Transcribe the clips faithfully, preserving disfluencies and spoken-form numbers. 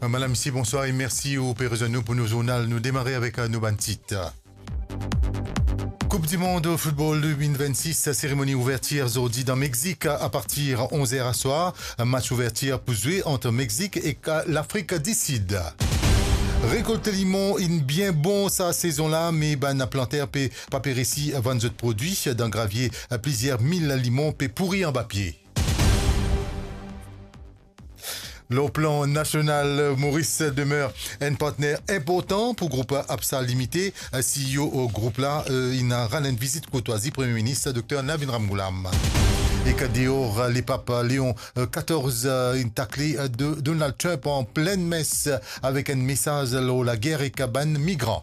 Madam, misie, bonswar e mersi ou pe rezwenn nou pou nou zournal. Nou demare avek, eh, nou bann tit. Koup di mond football de mil vennsis, seremoni ouvertir zordi dan Mexik a partir onz er aswar. Match ouvertir pou zwe ant Mexik ek Lafrik di Sid. Rekolt limon inn bien bon sa sezon la, me bann planter pe pa pe resi vann zot prodwi. Dan Gravie, plizier mil limon pe pouri anba pie. Lor plan nasional, Moris demeure enn partner inportan pou group APSA Limite. CEO group la, eh, inn rann enn vizit kourtwazi Premie Minis Dokter Navin Ramgoolam. Ek deor, Lepap Leon, eh, katorz, eh, inn takle, eh, Do-, Donald Trump an plin mes, eh, avek enn mesaz lor lager ek bann migran.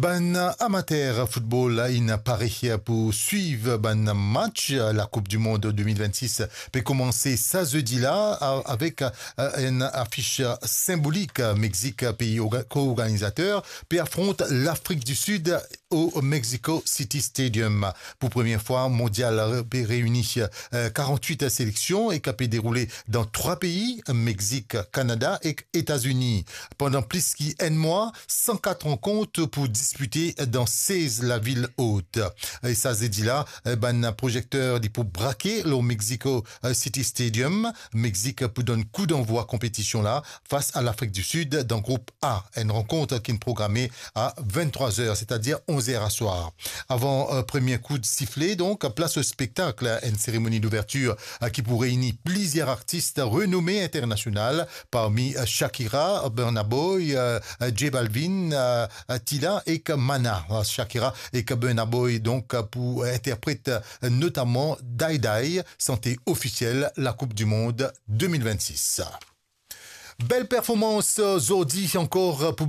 Bann amater football inn pare pou swiv bann match. Lakoup di mond de mil vennsis pe koumanse sa zedi la, a-, avek, eh, enn afis sinbolik. Mexik, pei orga-, ko-organizater, pe afront Lafrik di Sid o Mexico City Stadium. Pou premie fwa, mondial re-, pe reini, eh, karant-wit seleksion e ki pe deroule dan trwa pei, Mexik, Kanada ek Etazini. Pandan plis ki enn mwa, san kat rankont pou dispite dan sez lavil ot. E sa zedi la, eh, bann proyekter li pou brake lor Mexico, eh, City Stadium. Mexik pou donn kou danvwa konpetision la fas a Lafrik di Sid dan group A, enn rankont ki'nn programe a venntrwa zer, setadir onz er aswar. Avan, eh, premie kou de sifle, donk, plas o spektak, enn seremoni douvertir, eh, ki pou reini plizier artis renome internasional, parmi, eh, Shakira, Burna Boy, eh, eh, J Balvin, eh, eh, Tila ek Mana. Eh, Shakira ek Burna Boy, donk, pou interpret, eh, notaman Die Die, sante ofisiel Lakoup di mond de mil vennsis. Bel performans, eh, zordi ankor pou